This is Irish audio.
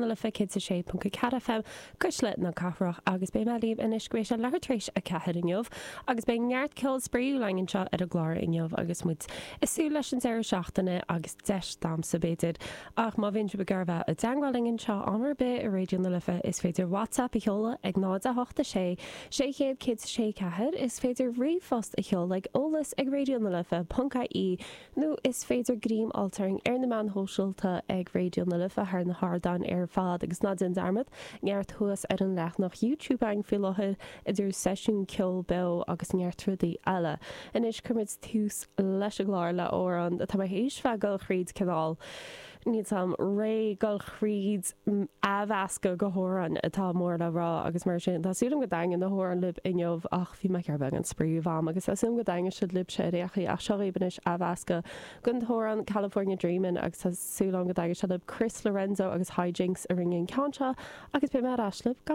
na Life 106.4 FM, Cuisle na Cathrach agus beidh mé libh anois go mbeidh sé leathuair tar éis a 4 inniu agus beidh neart ceol spraíúil againn anseo ar an gclár inniu agus muid ag súil leis an deireadh seachtaine agus deis damhsa b'fhéidir ach má bhíonn sibh ag iarraidh bheith i dteangmháil linn anseo am ar bith i Raidió na Life is féidir WhatsApp a sheoladh ag 0 8 6 600 106 4, is féidir ríomhphost a sheoladh ag eolas ag raidionalife.ie Nó is féidir greim a fháilt orainn ar na meáin shóisialta ag Raidió na Life thar na hardáin ar fad. Agus ná déan dearmad, neart thuas ar an leathanach YouTube againn faoi láthair, idir seisiún ceoil beo agus neart rudaí eile. Anois cuirfimid tús leis an gclár le amhrán atá mé théis bheith ag dul thríd cineál, níl 's a'm, ré dul thríd athmheascadh go hamhráin atá mór le rá agus mar sin tá súil agam go dtaitneoidh na hamhráin libh inniu ach bhí mé ag iarraidh beagán spraoi a bheith a'm agus tá súil agam go dtaitneoidh siad libhse ar aon chaoi ach seo dhaoibh anois athmheascadh den t-amhrán California Dreamin' agus tá súil agam go dtaitneoidh sé libh Chris Lorenzo agus Hijinx a rinne an ceann seo agus beidh mé ar ais libh gan.